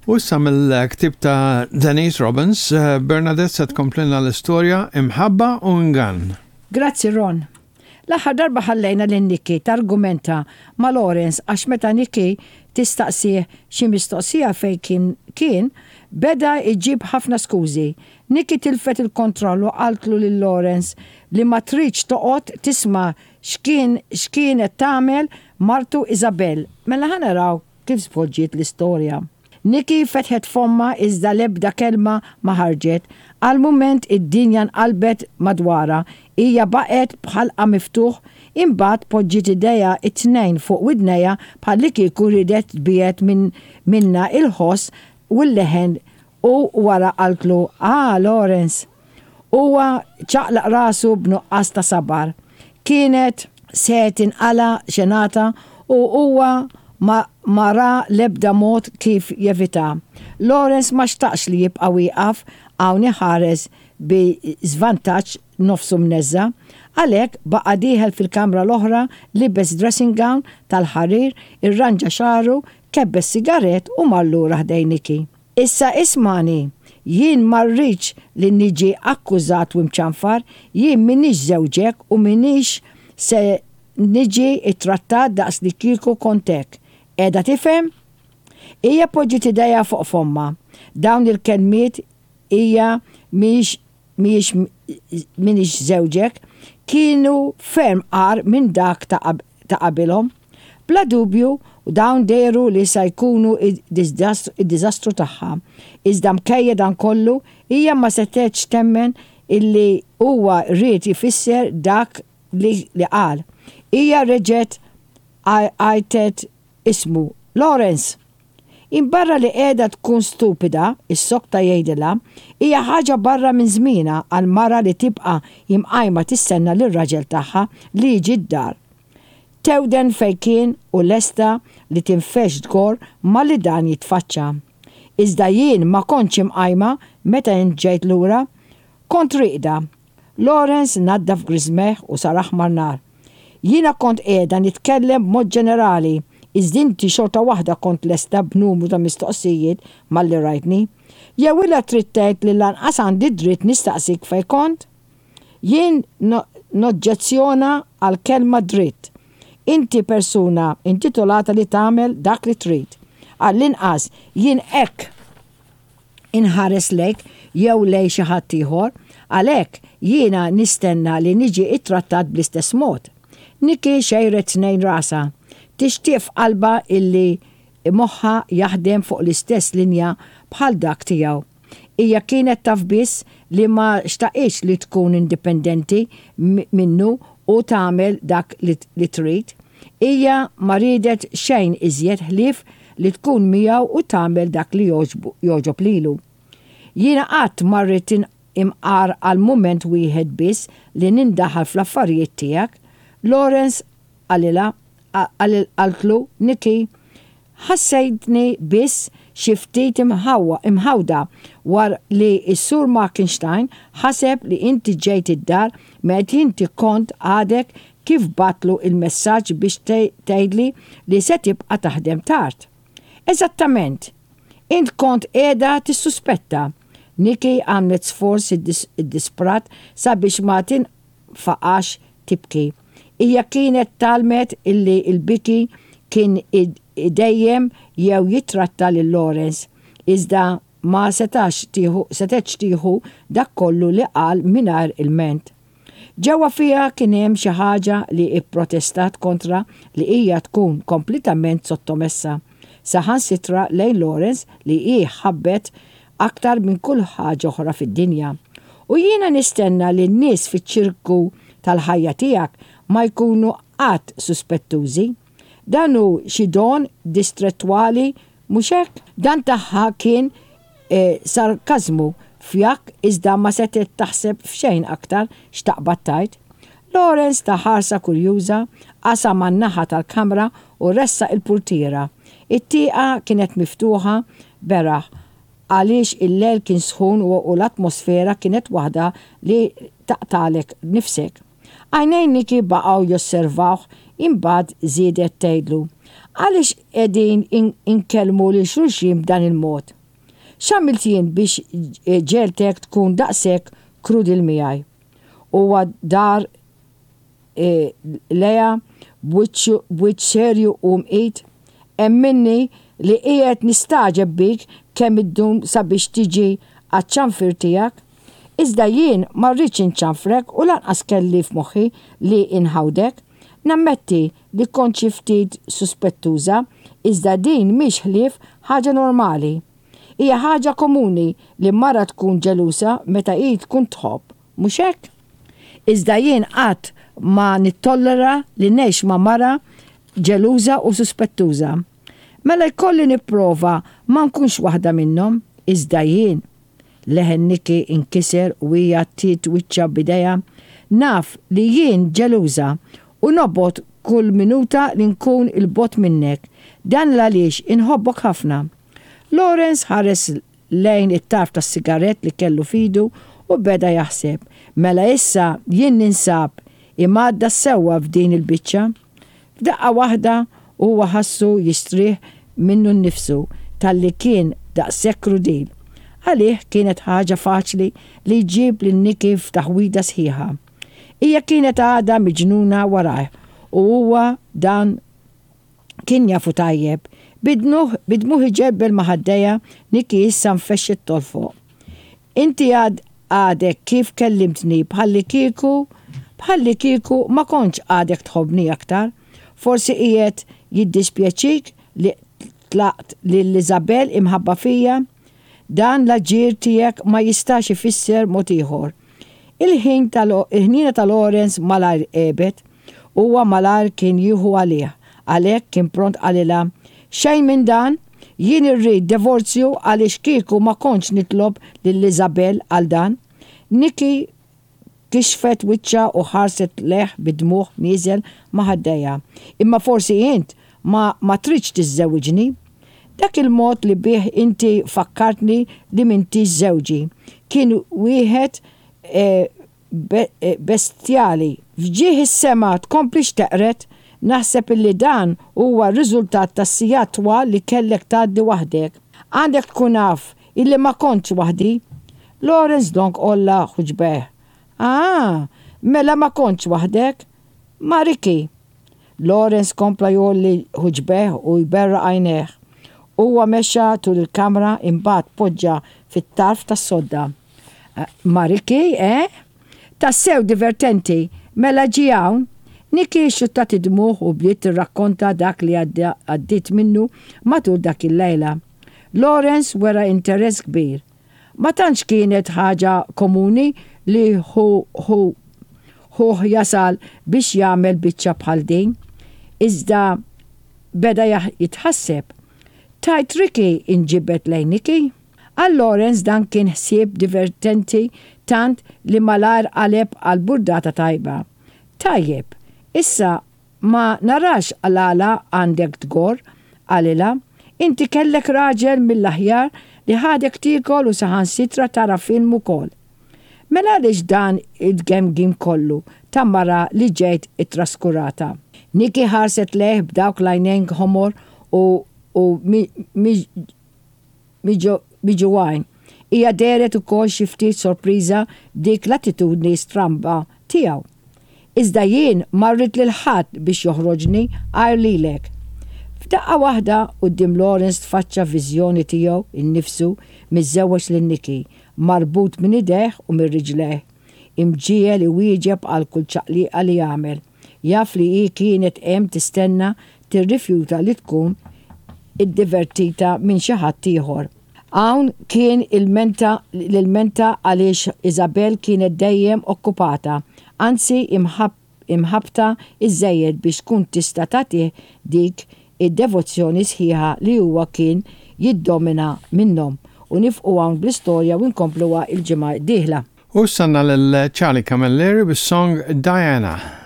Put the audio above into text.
U issa mill-ktieb ta' Denise Robbins, Bernadette se tkomplilna l-istorja Imħabba u Ingann. Grazzi Ron. L-aħħar darba ħallejna lil Nikki targumenta ma' Lawrence għax meta Nikki tistaqsih xi mistoqsija fejn kien kien, beda jġib ħafna skużi. Nikki tilfet il-kontroll u qaltlu lil Lawrence li ma tridx toqgħod tisma' x'kien x'kienet tagħmel martu Isabelle. Mela ħa naraw kif żvolġiet l-istorja. Nikki fetħet fommha iżda l-ebda kelma ma ħarġet. Għal mument id-dinja nqalbet madwarha. Hija baqgħet b'ħalqha miftuħ, imbagħad poġġiet idejha t-tnejn fuq widnejha bħallikieku riedet tbiegħed minn minnha il-ħoss u l-leħen u wara qaltlu, Ah, Lawrence! Huwa ċaqlaq rasu b'nuqqas ta' sabar. Kienet se tinqala' xenata u huwa ma ma ra l-ebda mod kif jevitha. Lawrence ma xtaqx li jibqa' wieqaf hawn iħares bi żvantaġġ nofsu mneżża'. Għalhekk baqa' dieħel fil-kamra l-oħra, libes dressing gown tal-ħarir, irranġa xagħru, kebbes sigarett u mar lura ħdejn Nikki. Issa ismagħni, jien ma rridx li niġi akkużat u mċanfar, jien m'iniex żewġek u m'iniex se niġi ttrattat daqs li kieku kont hekk. Qiegħda tifhem? Hija poġġiet idejha fuq fommha. Dawn il-kelmiet hija mhix mhijiex m'iniex żewġek, kienu ferm agħar minn dak ta' ta' qabilhom. Bla dubju, dawn dehru li sa jkunu d-diżastru tagħha. Iżda mkejja dan kollu, hija ma setgħetx temmen illi huwa ried ifisser dak li li qal. Hija reġgħet għajtet ismu, Lawrence! Imbarra li qiegħda tkun stupida, issokta jgħidilha, hija ħaġa barra minn żmienha għal mara li tibqa' imqajma tistenna lir-raġel tagħha li jiġi d-dar. Tewden fejn kien u lesta li tinfexx tgorr malli dan jitfaċċa. Iżda jien ma kontx imqajma meta int ġejt lura. Kont rieqda. Lawrence naddaf griżmejh u sar aħmar nar. Jiena kont qiegħda nitkellem b'mod ġenerali, iżda inti xorta waħda kont lesta b'numru ta' mistoqsijiet malli rajtni. Jew illa trid tgħid li lanqas għandi dritt nistaqsik fejn kont? Jien noġġezzjona għall-kelma dritt. Inti persuna intitolata li tagħmel dak li trid. Għall-inqas jien hekk inħares lejk jew lejn xi ħadd ieħor, għalhekk jiena nistenna li niġi ttrattat bl-istess mod. Nikki xejret tnejn rasha, tixtieq f'qalbha illi moħħha jaħdem fuq l-istess linja bħal dak tiegħu. Hija kienet taf biss li ma xtaqitx li tkun indipendenti minnu u tagħmel dak li trid. Hija ma riedet xejn iżjed ħlief li tkun miegħu u tagħmel dak li jogħġob lilu. Jiena qatt ma rrid imqar għal mument wieħed biss li nindaħal fl-affarijiet tiegħek, Lawrence qalilha, qaltlu Nikki. Ħassejtni biss xi ftit imħawda war li s-Sur Markenstein ħaseb li inti ġejt id-dar meta inti kont għadek kif bgħattlu il-messaġġ biex tgħidli li se tibqa' taħdem tard. Eżattament! Int kont qiegħda tissuspetta. Nikki għamlet sforz iddisprat sabiex ma tinfaqax tibki. Hija kienet tgħallmet illi l-biki kien idejjem jew jittratta lil Lawrence, iżda ma setax tieħu setgħetx tieħu dak kollu li qal mingħajr ilment. Ġewwa fiha kien hemm xi ħaġa li pprotestat kontra li hija tkun kompletament sottomessa, saħansitra lejn Lawrence li hi ħabbet aktar minn kull ħaġa oħra fid-dinja. U jiena nistenna li n-nies fiċ-ċirku tal-ħajja tiegħek ma jkunu qatt suspettużi. Dan hu xi don distrettwali, mhux hekk? Dan tagħha kien sarkażmu fjakk iżda ma setgħet taħseb f'xejn aktar x'taqbad tgħid. Lawrence ta ħarsa kurjuża, qasam għan-naħa tal-kamra u ressaq il-purtiera. It-tieqa kienet miftuħa beraħ għaliex il-lejl kien sħun u l-atmosfera kienet waħda li taqtagħlek nifsek. Għajnejn Nikki baqgħu josservawh imbagħad żiedet tgħidlu. Għaliex qegħdin inkellmu lil xulxin b'dan il-mod? X'għamilt jien biex ġegħeltek tkun daqshekk krudil miegħi? Huwa dar lejha b'wiċċ serju u mqit, Emminni li qiegħed nistagħġeb bik kemm iddum sabiex tiġi għaċ-ċanfir tiegħek. Iżda jien ma rridx inċanfrek u lanqas kelli f'moħħi li nħawdek. Nammetti li kont xi ftit suspettuża, iżda din mhix ħlief ħaġa normali. Hija ħaġa komuni li mara tkun ġelusa meta hi tkun tħobb, mhux hekk? Iżda jien qatt ma nittollera li ngħix ma' mara ġeluża u suspettuża. Mela jkolli nipprova ma nkunx waħda minnhom, iżda jien Leħen Nikki nkiser u hija għattiet wiċċha b'idejha. Naf li jien ġeluża u nobgħod kull minuta li nkun 'il bogħod minnek. Dan l-għaliex inħobbok ħafna. Lawrence ħares lejn it-tarf tas-sigarett li kellu f'idu u beda jaħseb, Mela issa jien ninsab imgħaddas sewwa f'din il-biċċa. F'daqqa waħda huwa ħassu jistrieħ minnu nnifsu talli kien daqshekk krudil. Għalih kienet ħaġa faċli li jġib lil Nikki f'taħwida sħiħa. Hija kienet għadha miġnuna warajh u huwa dan kien jafu tajjeb. Bi dmugħ iġebbel ma' ħaddejha, Nikki issa nfexxet tolfoq. Inti għad għadek kif kellimtni bħallikieku bħallikieku ma kontx għadek tħobbni aktar. Forsi qiegħed jiddispjaċik li tlaqt lil Isabel imħabba fija? Dan l-aġir tiegħek ma jistax ifisser mod ieħor. Il-ħin ta' il-ħniena ta' Lawrence malajr għebet. Huwa malajr kien jieħu għalih, għalhekk kien pront qalilha, Xejn minn dan! Jien irrid divorzju għaliex kieku ma kontx nitlob lil Isabel għal dan. Nikki kixfet wiċċha u ħarset lejh bid-dmugħ nieżel ma' ħaddejha. Imma forsi int ma ma tridx tiżżewwiġni? Dak il-mod li bih inti fakkartni li m'intix żewġi kien wieħed bestjali. F'ġieħ is-sema tkomplix teqred, naħseb illi dan huwa r-riżultat tas-sigħat twal li kellek tgħaddi waħdek. Għandek tkun af illi ma kontx waħdi. Lawrence donnk għolla ħuġbejh. Ah, mela ma kontx waħdek? Ma' Ricky. Lawrence kompla jgħolli ħuġbejh u jberraq għajnejh. Huwa mexa tul il-kamra imbagħad poġġa fit-tarf tas-sodda. Ma' Ricky, eh? Tassew divertenti! Mela ġie hawn? Nikki xxuttat id-dmugħ u bdiet tirrakkonta dak li għaddiet minnu matul dak il-lejla. Lawrence wera interess kbir. Ma tantx kienet ħaġa komuni li ħu ħu ħuh jasal biex jagħmel biċċa bħal din. Iżda beda jitħasseb. Tgħid Ricky inġibed lejn Nikki? Għal Lawrence dan kien ħsieb divertenti tant li malajr qaleb għal burdata tajba. Tajjeb, issa ma narax l-għala għandek tgorr, qalilha. Inti kellek raġel mill-aħjar li ħadek tiekol u saħansitra tara film ukoll. Mela għaliex dan it-tgemgim kollu ta' mara li ġejt ittraskurata? Nikki ħarset lejh b'dawk l-għajnejn ħomor u u miġugħin. Hija dehret ukoll xi ftit sorpriża b'dik l-attitudni stramba tiegħu. Iżda jien ma rrid lil ħadd biex joħroġni għajr lilek. F'daqqa waħda quddiem Lawrence tfaċċa viżjoni tiegħu nnifsu miżżewweġ lil Nikki, marbut minn idejh u minn riġlejh, imġiegħel iwieġeb għal kull ċaqliqa li jagħmel. Jaf li hi kienet hemm tistenna tirrifjuta li tkun iddivertita minn xi ħadd ieħor. Hawn kien ilmenta l-ilmenta għaliex Isabel kienet dejjem okkupata, anzi imħabbta iżżejjed biex tkun tista' tagħtih dik id-devozzjoni sħiħa li huwa kien jiddomina minnhom. U nifqu hawn bl-istorja u nkompluha l-ġimgħa d-dieħla. U issa għandna lil Charlie Camilleri bis-song Diana.